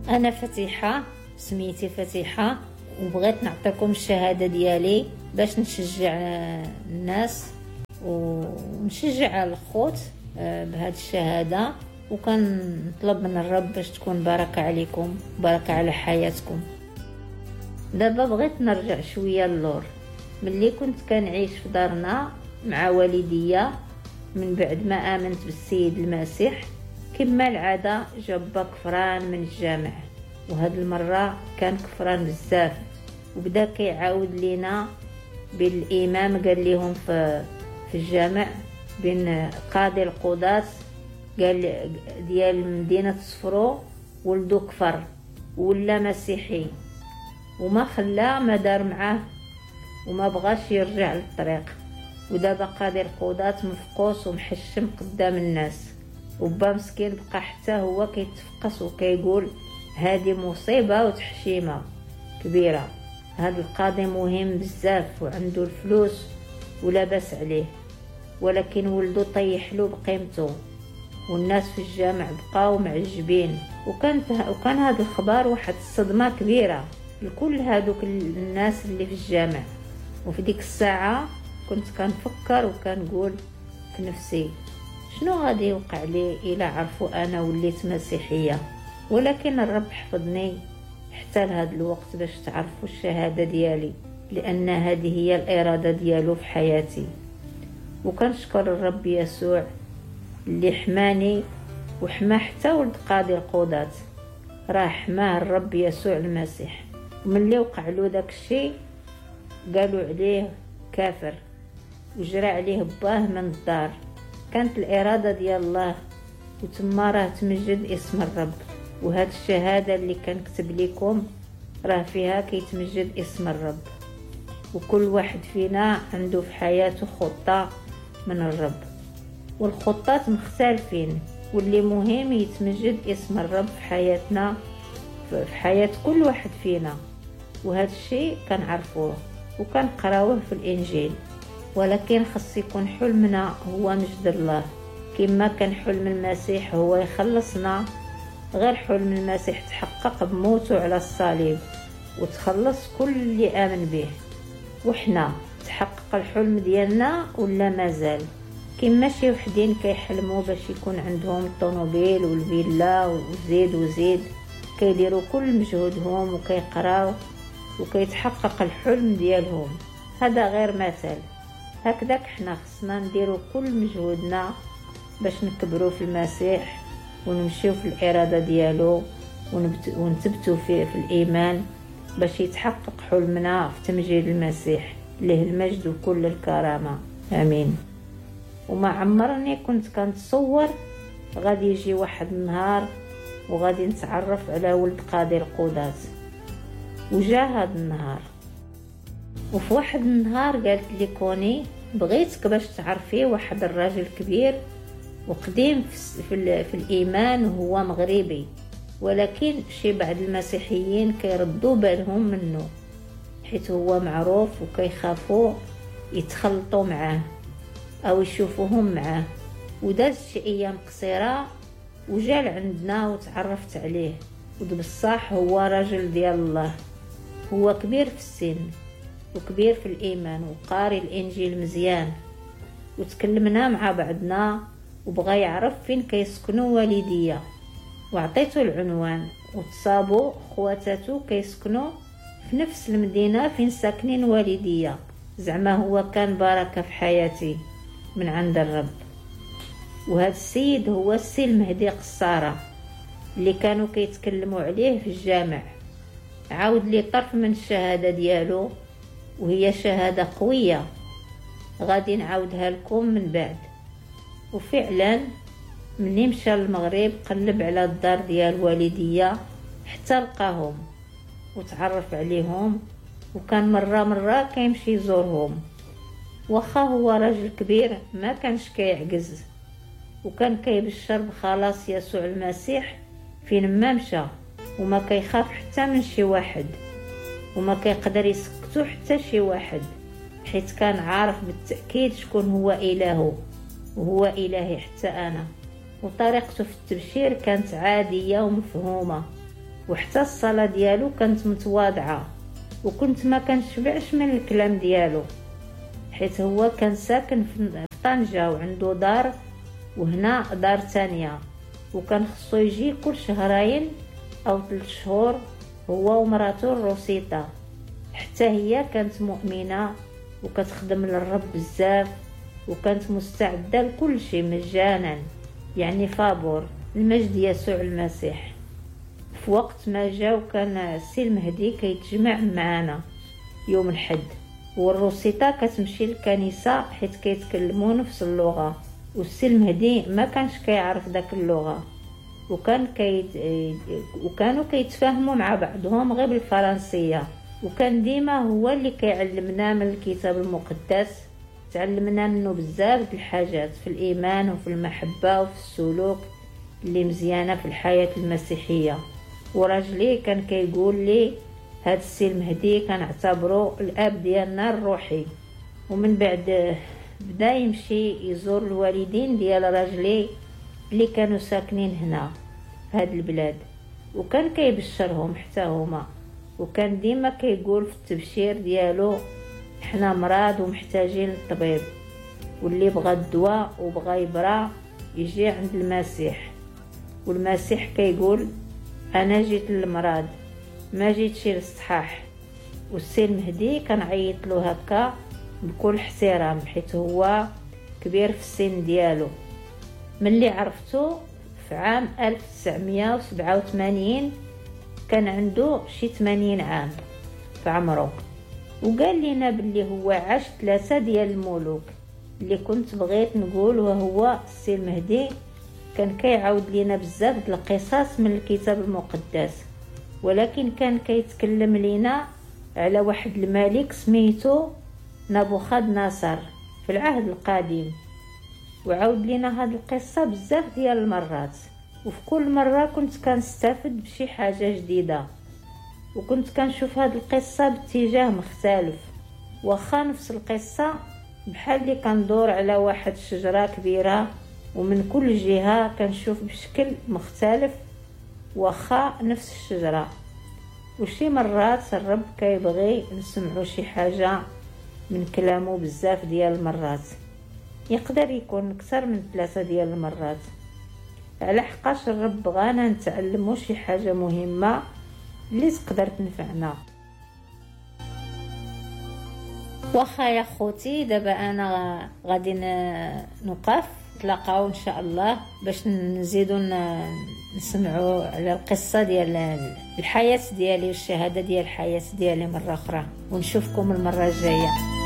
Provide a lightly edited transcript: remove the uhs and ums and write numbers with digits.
انا فتيحه، سميتي فتيحه، وبغيت نعطيكم الشهادة ديالي باش نشجع الناس ونشجع الخوت بهذه الشهاده. وكنطلب من الرب باش تكون بركة عليكم، بركة على حياتكم. دابا بغيت نرجع شوية للور. ملي كنت كنعيش في دارنا مع والديا من بعد ما امنت بالسيد المسيح، كما العادة جا با كفران من الجامع، وهاد المرة كان كفران بزاف، وبدا كيعاود لينا بالامام. قال لهم في الجامع بين قاضي القضاة قال ديال مدينة صفرو ولدو كفر ولا مسيحي، وما خلا ما دار معاه وما بغاش يرجع للطريق. ودابا قاضي القضاة مفقوس ومحشم قدام الناس، وبا مسكين بقى حتى هو كيتفقس وكيقول هذه مصيبة وتحشيمة كبيرة. هذا القاضي مهم بزاف وعنده الفلوس ولا باس عليه، ولكن ولدو طيح له بقيمته، والناس في الجامع بقاو معجبين. وكان هذا الخبر واحد الصدمة كبيرة لكل هادوك الناس اللي في الجامع. وفي ديك الساعة كنت كنفكر وكنقول في نفسي شنو غادي يوقع لي إلا عرفوا أنا وليت مسيحية. ولكن الرب حفظني حتى لهذا الوقت باش تعرفوا الشهادة ديالي، لأن هذه هي الإرادة ديالو في حياتي. وكنشكر الرب يسوع اللي حماني وحما حتى ولد قاضي القضاة، راه حماه الرب يسوع المسيح. وملي وقع له داك الشيء قالوا عليه كافر وجرى عليه باه من الدار. كانت الإرادة ديال الله، وتما راه تمجد اسم الرب. وهاد الشهادة اللي كنكتب لكم راه فيها كيتمجد اسم الرب. وكل واحد فينا عنده في حياته خطة من الرب، والخطات مختلفين، واللي مهم يتمجد اسم الرب في حياتنا، في حياة كل واحد فينا. وهذا الشيء كنعرفوه وكنقراوه في الإنجيل، ولكن خص يكون حلمنا هو مجد الله، كما كان حلم المسيح هو يخلصنا. غير حلم المسيح تحقق بموته على الصليب وتخلص كل اللي آمن به. وحنا تحقق الحلم ديالنا ولا مازال؟ كما شي وحدين كيحلموا باش يكون عندهم الطوموبيل والفيلا وزيد وزيد، كيديروا كل مجهودهم وكيقراو وكيتحقق الحلم ديالهم. هذا غير مثل. هكذاك حنا خصنا نديروا كل مجهودنا باش نكبروا في المسيح ونمشيو في الإرادة ديالو ونثبتوا فيه في الإيمان باش يتحقق حلمنا في تمجيد المسيح له المجد وكل الكرامة. آمين. وما عمرني كنت كنتصور غادي يجي واحد النهار وغادي نتعرف على ولد قاضي القضاة، وجا هذا النهار. وفي واحد النهار قالت لي كوني بغيتك باش تعرفي واحد الراجل كبير وقديم في الإيمان، وهو مغربي، ولكن شي بعض المسيحيين كيردوا بالهم منه حيت هو معروف وكيخافوا يتخلطوا معاه أو يشوفوهم معاه. وداز شي أيام قصيرة وجا لعندنا وتعرفت عليه، وبصح هو راجل ديال الله، هو كبير في السن وكبير في الإيمان وقاري الإنجيل مزيان. وتكلمنا مع بعضنا وبغى يعرف فين كيسكنوا والديا، وعطيته العنوان، وتصابوا خواتاتو كيسكنوا في نفس المدينة فين ساكنين والديا. زعما هو كان بركة في حياتي من عند الرب. وهذا السيد هو السي المهدي قصارة اللي كانوا كيتكلموا عليه في الجامع. عاود لي طرف من الشهادة ديالو، وهي شهادة قوية غادي نعاودها لكم من بعد. وفعلا مني مشى للمغرب قلب على الدار ديال والديا حتى لقاهم وتعرف عليهم، وكان مرة مرة كيمشي يزورهم. واخا هو راجل كبير ما كانش كيعجز، وكان كيبشر بخلاص يسوع المسيح فين ما مشى، وما كيخاف حتى من شي واحد، وما كيقدر يسكتو حتى شي واحد، حيت كان عارف بالتأكيد شكون هو إلهه، وهو إلهي حتى أنا. وطريقته في التبشير كانت عادية ومفهومة، وحتى الصلاة ديالو كانت متواضعة، وكنت ما كنشبعش من الكلام ديالو، حيت هو كان ساكن في طنجة وعنده دار وهنا دار تانية، وكان خصو يجي كل شهرين أو 3 شهور هو ومراته الروسيطة. حتى هي كانت مؤمنة وكتخدم للرب بزاف، وكانت مستعدة لكل شيء مجانا، يعني فابور المجد يسوع المسيح. في وقت ما جاو كان السي المهدي كيتجمع معنا يوم الحد، والروسيطة كتمشي للكنيسة حيت كيتكلموا نفس اللغة، والسي المهدي ما كانش كيعرف داك اللغة، وكانوا كيتفاهموا مع بعضهم غير بالفرنسية. وكان ديما هو اللي كيعلمنا من الكتاب المقدس، تعلمنا منه بزاف د الحاجات في الإيمان وفي المحبة وفي السلوك اللي مزيانة في الحياة المسيحية. وراجلي كان كيقول لي هاد السي المهدي كنعتبره الأب ديالنا الروحي. ومن بعد بدا يمشي يزور الوالدين ديال راجلي اللي كانوا ساكنين هنا في هاد البلاد، وكان كيبشرهم حتى هما، وكان ديما كيقول في التبشير ديالو حنا مرض ومحتاجين للطبيب، واللي بغى الدواء وبغى يبرا يجي عند المسيح. والمسيح كيقول انا جيت للمرض ما جيتش للصحاح. والسي المهدي كنعيط له هكا بكل احترام حيت هو كبير في السن ديالو. ملي عرفتو في عام 1987 كان عنده شي 80 عام في عمره، وقال لنا باللي هو عاش 3 ديال الملوك اللي كنت بغيت نقول، وهو السي المهدي كان كيعاود لنا بزاف د القصص من الكتاب المقدس، ولكن كان كيتكلم لنا على واحد الملك سميتو نبوخذ نصر في العهد القديم، وعاود لنا هاد القصة بزاف ديال المرات، وفي كل مرة كنت كنستافد بشي حاجة جديدة، وكنت كنشوف هاد القصة باتجاه مختلف، واخا نفس القصة بحال اللي كندور على واحد الشجرة كبيرة ومن كل جهة كنشوف بشكل مختلف واخا نفس الشجرة. وشي مرات الرب كيبغي نسمعو شي حاجة من كلامه بزاف ديال المرات، يقدر يكون اكثر من 3 ديال المرات، على حقاش الرب بغانا نتعلمو شي حاجة مهمة اللي تقدر تنفعنا. واخا يا خوتي، دابا انا غادي نوقف، نتلاقاو ان شاء الله باش نزيدو نسمعوا على القصة ديال الحياة ديالي والشهادة ديال الحياة ديالي مرة اخرى، ونشوفكم المرة الجاية.